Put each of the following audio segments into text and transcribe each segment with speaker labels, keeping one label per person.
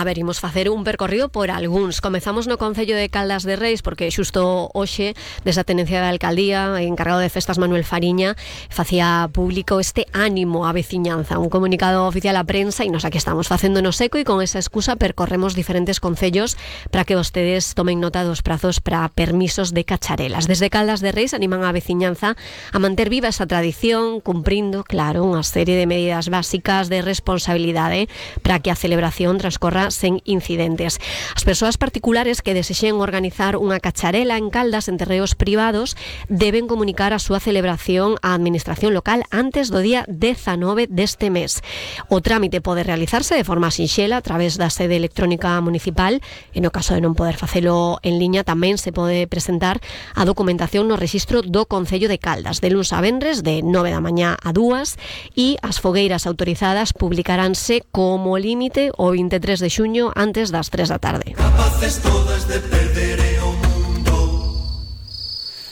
Speaker 1: a ver, imos facer un percorrido por algúns. Comezamos no Concello de Caldas de Reis, porque xusto hoxe, desde a Tenencia da Alcaldía, encargado de festas Manuel Fariña, facía público este ánimo á veciñanza, un comunicado oficial á prensa, e nos aquí estamos facéndonos eco, e con esa excusa percorremos diferentes concellos para que vostedes tomen nota dos prazos para permisos de cacharelas. Desde Caldas de Reis animan á veciñanza a manter viva esa tradición, cumprindo, claro, unha serie de medidas básicas de responsabilidade para que a celebración transcorra sen incidentes. As persoas particulares que desexen organizar unha cacharela en Caldas en terreos privados deben comunicar a súa celebración á administración local antes do día 19 deste mes. O trámite pode realizarse de forma sinxela a través da sede electrónica municipal, e no caso de non poder facelo en liña tamén se pode presentar a documentación no rexistro do Concello de Caldas de luns a venres de 9 da mañá a 2, e as fogueiras autorizadas publicaránse como límite o 23 de xuño antes das 3 da tarde.
Speaker 2: Capaces todas de perder o mundo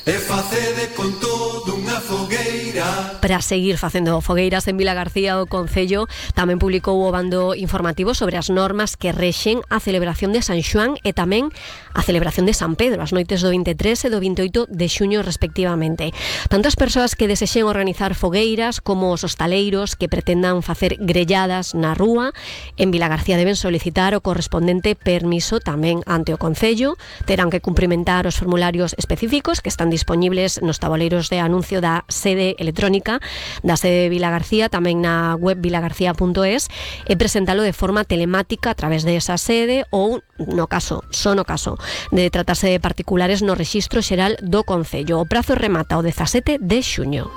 Speaker 2: e facede con todo unha fogueira.
Speaker 1: Para seguir facendo fogueiras en Vilagarcía, o Concello tamén publicou o bando informativo sobre as normas que rexen a celebración de San Xoán e tamén a celebración de San Pedro, as noites do 23 e do 28 de xuño respectivamente. Tanto as persoas que desexen organizar fogueiras como os hostaleiros que pretendan facer grelladas na rúa en Vilagarcía deben solicitar o correspondente permiso tamén ante o Concello. Terán que cumprimentar os formularios específicos que están dispoñibles nos tabuleiros de anuncio da sede electrónica da sede de Vilagarcía, tamén na web vilagarcía.es, e presentalo de forma telemática a través de esa sede ou, no caso de tratarse de particulares, no rexistro xeral do Concello. O prazo remata o 17 de xuño.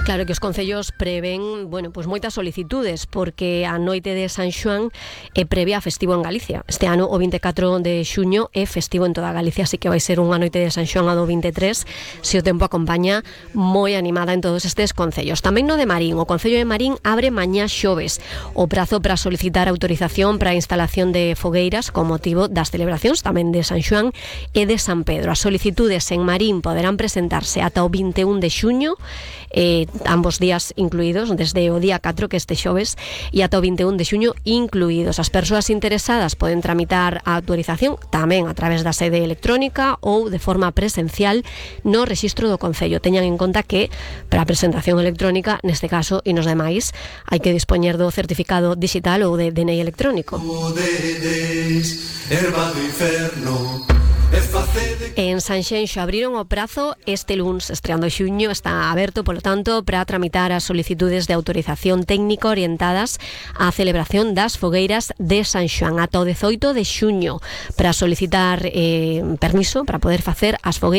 Speaker 1: Claro que os concellos prevén, pues moitas solicitudes, porque a noite de San Xoán é previa a festivo en Galicia. Este ano, o 24 de xuño, é festivo en toda Galicia, así que vai ser unha noite de San Xoán a do 23, se o tempo acompaña, moi animada en todos estes concellos. Tamén no de Marín, o Concello de Marín abre mañá xoves o prazo para solicitar autorización para a instalación de fogueiras con motivo das celebracións tamén de San Xoán e de San Pedro. As solicitudes en Marín poderán presentarse ata o 21 de xuño, ambos días incluídos, desde o día 4, que este xoves, e ata o 21 de xuño incluídos. As persoas interesadas poden tramitar a autorización tamén a través da sede electrónica ou de forma presencial no rexistro do Concello. Teñan en conta que para a presentación electrónica, neste caso e nos demais, hai que dispoñer do certificado digital ou de DNI electrónico.
Speaker 2: Erva do inferno.
Speaker 1: En Sanxenxo abriron o prazo este luns, estreando xuño, está aberto, polo tanto, para tramitar as solicitudes de autorización técnica orientadas á celebración das fogueiras de San Xoán ata o 18 de xuño, para solicitar permiso para poder facer as fogueiras